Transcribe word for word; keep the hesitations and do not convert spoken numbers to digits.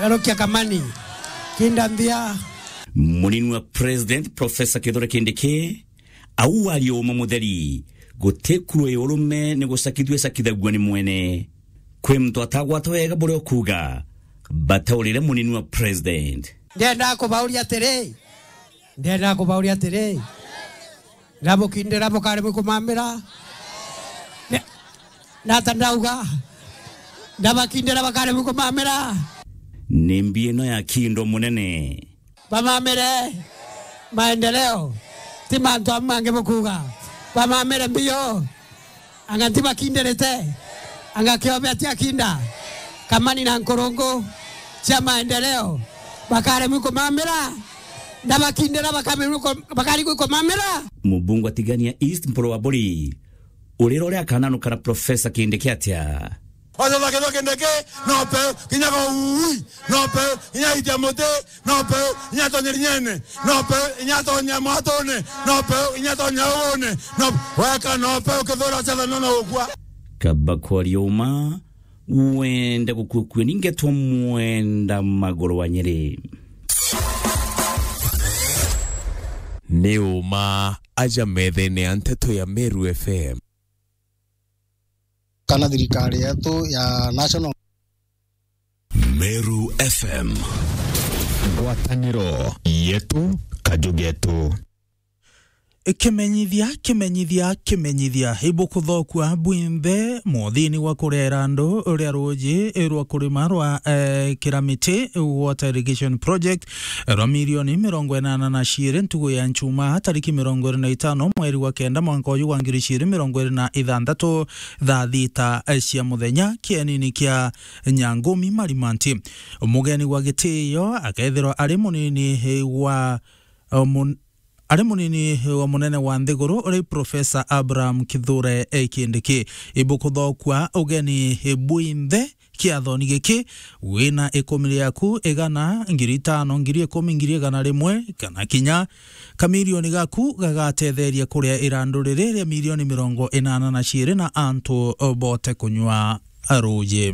Erokia kamani. Kinda nthia. Munini wa President, Professor Kithure Kindiki, au aria uma mutheri, guti kuru ya urume ni gucakithua icakithagua ni mwene. Kwi muntu atagwata wega buria ukuuga, bataurire munini wa President. Ndenda kubauria atiri, ndenda kubauria atiri, ndabukindira bukaremwe kumamira? Ne-, nata ndauga, ndabakindira bakaremwe kumamira? Ni mbi ino ya kindo munene. Bamamire maendeleo, ti mantu amwe mangi bukuuga. Bamamire mbio, anga ntibakindirite, anga kiobe atiakinda. Kamani na nkurungu cia maendeleo, bakaremwi kumamira, ndabakindira bakaremwi ku-, bakaremwi kumamira. Mubunge wa Tigania East, Mpuru wa Buri, urira uria akananukana Professor Kindiki atia? Wacha za Kithure Kindiki, no peu, kinya go ui, no peu, kinya itia muti, no peu, kinya tonye rinyene, no peu, kinya tonye mwatune, no peu, kinya tonye ugune, no, weka no peu, Kithure acha no no ukua. Kaba kwaria uma, wenda gukua kua ni ngetwa Mwenda Maguru wa Nyeri. Ni uma aja methene ya nteto ya Meru F M. Kana thirikari yetu ya national. Meru F M. Ngwataniro yetu, kaju getu. Kimenyithia, kimenyithia, kimenyithia. Ibukuthokua bwinthe muthini wa kurera andu ria ruji rwa kurima rwa, eh, Kiramiti Water Irrigation Project rwa milioni mirongo inana na ciiri ntugu ya nchuma tariki mirongo iri na itano mweri wa kenda mwanka uyu wa ngiri ciiri mirongo iri na ithanthatu thaa thita cia muthenya kienini kia Nyangumi Marimanti. Mugeni wa gitio akethirwa ari munini wa, o mun-, ari munini wa munene wa nthiguru uri Professor Abraham Kithure Kindiki. Ibukuthokua ugeni bwinthe kiathoni giki, wina ikumi riaku, igana, ngiri itano, ngiri ikumi, ngiri igana rimwe, kana kinya kamilioni gaku gagatetheria kuria irandu riri ria milioni mirongo inana na ciiri na antu bote kunyua ruji.